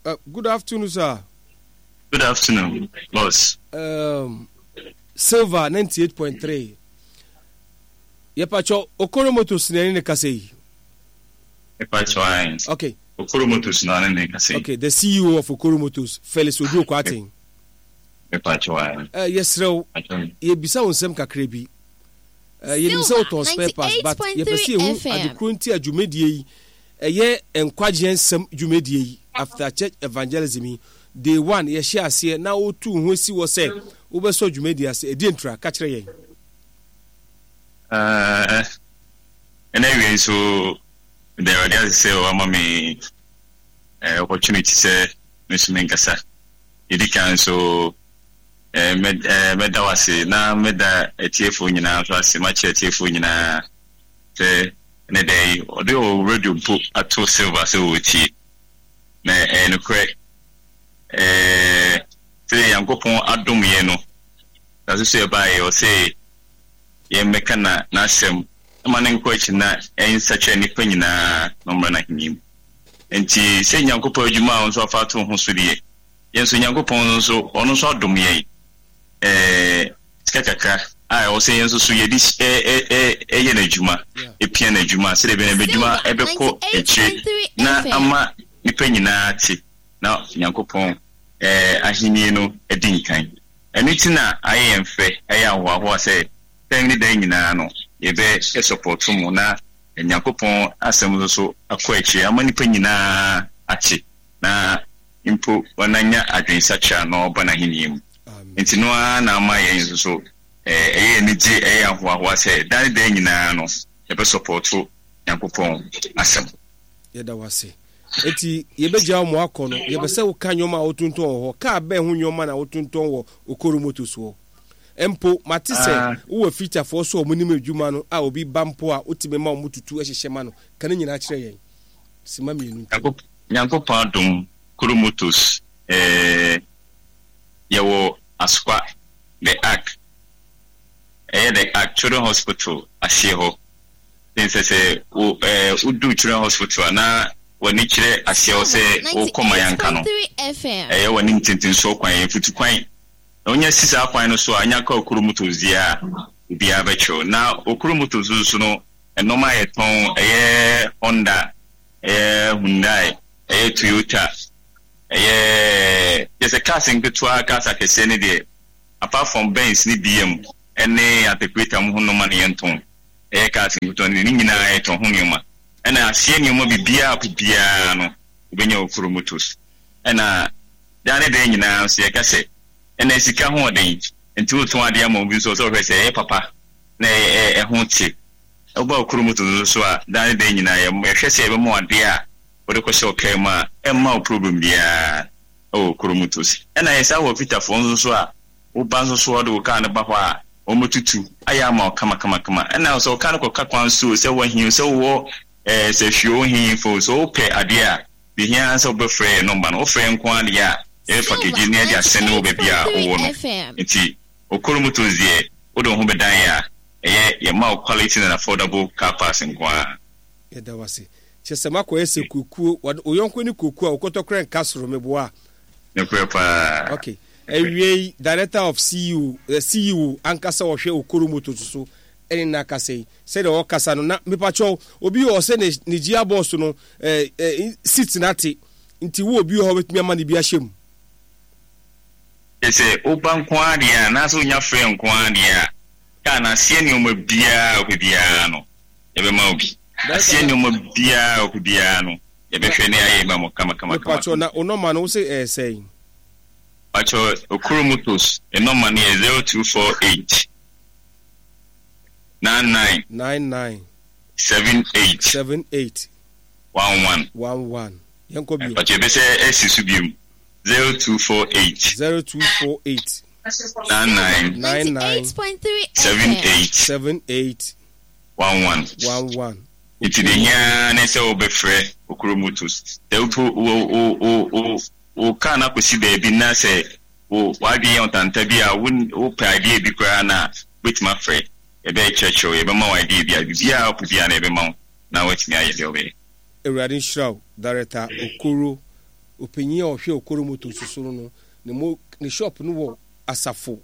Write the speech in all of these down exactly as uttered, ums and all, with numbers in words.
Uh, good afternoon, sir. Good afternoon, boss. Um, Silver ninety-eight point three. Yɛpakyɛ, Okoro Motors na ɛne ne kasa yi? Mepakyɛ ayi. Okay. Okoro Motors na ne ne kasa yi. Okay, the C E O of Okoro Motors, Felix Oduro Kwaten. Mepakyɛ ayi. Uh, yɛsrɛ wo, yɛbisa wo nsɛm kakra bi. Uh, yɛnim sɛ wotɔn spare parts, but yɛpɛ sɛ yɛhu adekoro nti a dwumadie yi, ɛyɛ nkwagyeɛ nsɛm dwumadie yi, after church evangelism yi, day one yɛhyɛ aseɛ na wotu wo ho asi wɔ sɛ wobɛsɔ dwumadie ase. Ɛdeɛ ntura ka kyerɛ yɛn. Ɛna awie nso, meda Awurade ase sɛ wama me opportunity sɛ me nso menkasa. Yɛdi kan nso, mɛda wo ase na mɛda atiefoɔ nyinaa nso ase. Makyerɛ atiefoɔ nyinaa sɛ ɛnɛ da yi ɔde wɔ radio mpo ato Silver sɛ wɔtie, na ɛyɛ nokorɛ sɛ Nyankopɔn adom yɛn no na so so yɛbaeɛ ɔsɛ yɛmmɛka na n'asɛm ma ne nkɔ akyi na ɛnsakyerɛ nnipa nyinaa na ɔmmra n'ahenni mu. Nti sɛ Nyankopɔn adwuma a ɔno nso afa ato ho so deɛ, yɛn nso Nyankopɔn nso ɔno nso adom yɛn ɛɛ sika kakra a ɛwɔ sɛ yɛn nso so yɛde ɛyɛ n'adwuma, epia n'adwuma sɛdeɛ ɛbɛyɛ n'adwuma ɛbɛkɔ akyire na ama nnipa nyinaa te na Nyankopɔn ɛɛ ahenni no adi nkan. Ɛno ti na ayɛ yɛn fɛ, ɛyɛ ahoahoa sɛ pɛn ne dan nyinaa no yɛbɛ support mu na Nyankopɔn asɛm nso so akɔ akyire ama nnipa nyinaa ate na mpo wɔnanya adwensakyera na ɔba n'ahenni mu. Nti no ara na ama yɛn nso so ɛyɛ anigye, ɛyɛ ahoahoa sɛ dan ne dan nyinaa no yɛbɛ support Nyankopɔn asɛm. Yɛda wase. Eti yɛbɛgya wo mo akɔ no, yɛbɛ sɛ woka nneɛma a wotontɔn wɔ hɔ. Kaa bɛn ho nneɛma na wotontɔn wɔ Okoro Motors hɔ? Mpo mate sɛ wowɔ fitafoɔ so a wɔn nim adwuma no a, obi ba mpo a, wotumi ma wɔn tutu hyehyɛ ma no. Ka ne nyinaa kyerɛ yɛn sima mmienu ntam. Nyankopɔn adom, Koro Motors, eh, yɛwɔ Asokwa, The Ark, ɛyɛ The Ark Children Hospital aseɛ hɔ. Sɛ sɛ wo eh, wodu Children Hospital a na w'ani kyerɛ aseɛ hɔ sɛ wokɔ Mayanka no, ɛyɛ w'anim tentensoɔ kwan, yɛ mfutu kwan na wonya si saa kwan no so a, anya ka Okoro Motors deɛ a, obiara bɛkyerɛw. Na Okoro Motors nso no, ɛnɔma a yɛtɔn ɛyɛ Honda, ɛyɛ Hyundai, ɛyɛ Toyota, ɛyɛ kyerɛ sɛ cars nketewa, cars akɛseɛ ne deɛ, apart from Benz ne B M ɛne articulator mu ho nneɛma no yɛntɔn. Ɛyɛ cars nketewa no, ne nyinaa yɛtɔn ho nneɛma. Ɛna aseɛ nneɛma biribiara po biara no wobɛnya Okoro Motors. Ɛna daa ne dan nyinaa nso yɛka sɛ ɛna sika ho ɔden, nti wotɔn adeɛ ama obi nso sɛ ɔhwɛ sɛ ɛyɛ papa na ɛho te. Woba Okoro Motors nso so a, daa ne dan nyinaa yɛhwɛ sɛ yɛbɛma adeɛ a wode kɔhyɛ wo kaa mu a ɛmma wo problem biara ɛwɔ Okoro Motors. Ɛna yɛsan wɔ fitafoɔ nso so a, woba nso so a, wode wo kaa no ba hɔ a, wɔmɛtutu ayɛ ama wo kamakamakama. Ɛna sɛ wo kaa no kɔka kwan so, sɛ wahia, sɛ wowɔ ɛɛ sɛ hwie wo hemfo sɛ wopɛ adeɛ a de hia sɛ wobɛfrɛ yɛ number no, wofrɛ nko adeɛ a, yɛbɛ package ne yɛde asɛne wɔ baabi a wowɔ no. Nti Okoro Motors deɛ, wode wo ho bɛdan yɛ a, ɛyɛ yɛma wo quality and affordable car parts nko ara. Yɛda wase. Kyɛ sɛ makɔyɛ sɛ kuokuo, wo yɔnko ne kuokuo a wokɔtɔ nka soro meboa. Nokorɛ paa. Okay, awie, director of C E O, eh, C E O ankasa ɔhwɛ Okoro Motors so ɛne na akasa yi sɛdeɛ ɔkasa no. Na mepakyɛw, obi wɔ sɛ ne ne gear box no eh, eh, seat na ate, nti wo obi wɔ hɔ bɛtumi ama ne bi ahyɛ mu? Kyɛ sɛ woba nko ara deɛ a, anaasɛ wonya frɛ nko ara deɛ a, kaa no aseɛ nneɛma biara a wopɛ biara no, yɛbɛma wo bi. Aseɛ nneɛma biara a wopɛ biara no, yɛbɛhwɛ ne ayɛ ma mo kama kama kama. Mepakyɛw, na wo number no, wo sɛ ɛyɛ sɛn? Pakyɛw, Okoro Motors number no yɛ zero two four eight nine nine nine nine seven eight seven eight one one. one one. Yɛnkɔ bio. Pakyɛw, ɛbɛsɛ ɛsi so biom, zero two four eight zero two four eight nine nine nine nine seven eight seven eight one one. one one. Nti de hia ne sɛ wobɛfrɛ Okoro Motors. Sɛ wopo wo wo wo wo wo kaa no akɔsi baabi na sɛ wo w'adwene yɛ ɔtanta bi a, wo wopɛ idea bi koraa na wobɛtumi afrɛ, yɛbɛkyerɛkyerɛw, yɛbɛma wo idea bi a biribiara wopɛ biara na yɛbɛma wo na woatumi ayɛ deɛ wobɛyɛ. Awurade nhyira wo, Director Okoro. Ɔpanyin a ɔhwɛ Okoro Motors so no no, ne mo ne shop no wɔ Asafo.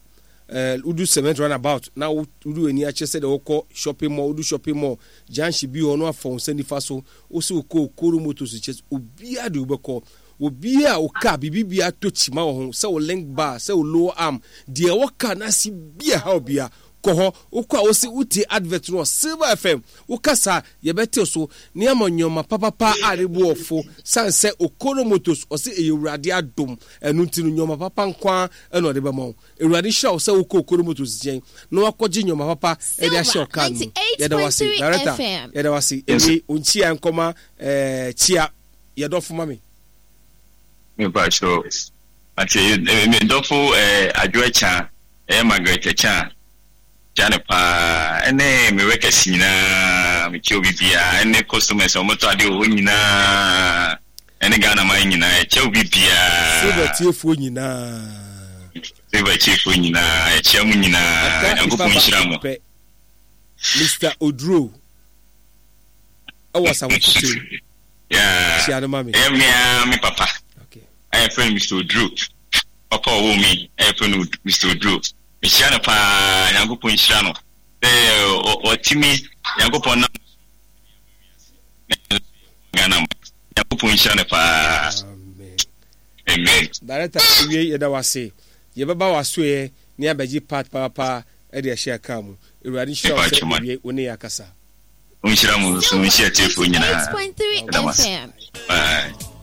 Eh, wodu cement runabout na wodu w'ani akyerɛ sɛdeɛ wokɔ shopping mall, wodu shopping mall junction bi hɔ no afa wo nsa nifa so, wo sɛ wokɔ Okoro Motors kyɛ obiara de wobɛkɔ. Obiara a wo car biribi biara tɔ kyima wɔ ho, sɛ wo link bar, sɛ wo lower arm, deɛ ɛwɔ car no ase bi a ɛha obiara, kɔ hɔ. Wokɔ a wose wotie advert no wɔ Silver F M. Woka saa, yɛbɛtew so na yɛama nneɛma papapa a ne bo wɔ fo. Sane sɛ Okoro Motors ɔse ɛyɛ Awurade adom, ɛno nti no nneɛma papa nko ara na ɔde bɛma wo. Awurade nhyira wo sɛ wokɔ Okoro Motors nkyɛn na wakɔgye nneɛma papa de ahyɛ wo car no mu. Yɛda wo ase, Director. Yɛda wo ase. Ewie, wo nkyia nkɔma eh, kyia yɛ dɔfo ma me. Mepa kyɛw. Ate, me dɔfo eh, Adwo Akya, ɛyɛ Margaret Akya, kyia no paa, ɛne me workers nyinaa, mekyia obi biara, ɛne customers a wɔtɔ adeɛ wɔ hɔ nyinaa, ɛne Ghana man nyinaa, yɛkyia obi biara. Silver tiefoɔ nyinaa. Silver tiefoɔ nyinaa, yɛkyia mu nyinaa, Aka nipa Nyankopɔn nhyira baako mo. pɛ. Mister Oduro ɛwɔ Asafo Titiri. Yeah. Kyia no ma me. Ɛyɛ mmea me papa. Okay. Ɛyɛ frɛ no Mister Oduro. Papa a ɔwɔ mi ɛyɛ frɛ no Mister Oduro. Mehyia no paa, Nyankopɔn nhyira no. Sɛ ɔ- ɔtumi Nyankopɔn nam Ghana mu. Nyankopɔn nhyira no paa. Amen. Amen. Director, ewie yɛda wo ase. Yɛbɛba w'asoeɛ ne abɛgye part paapaa de ahyɛ kaa mu. Awurade nhyira wo sɛ ewie wo ne yɛ akasa. Nhyira mo nso, nhyira tiefoɔ nyinaa. eight point three Ɛda mo ase. F M. Bye.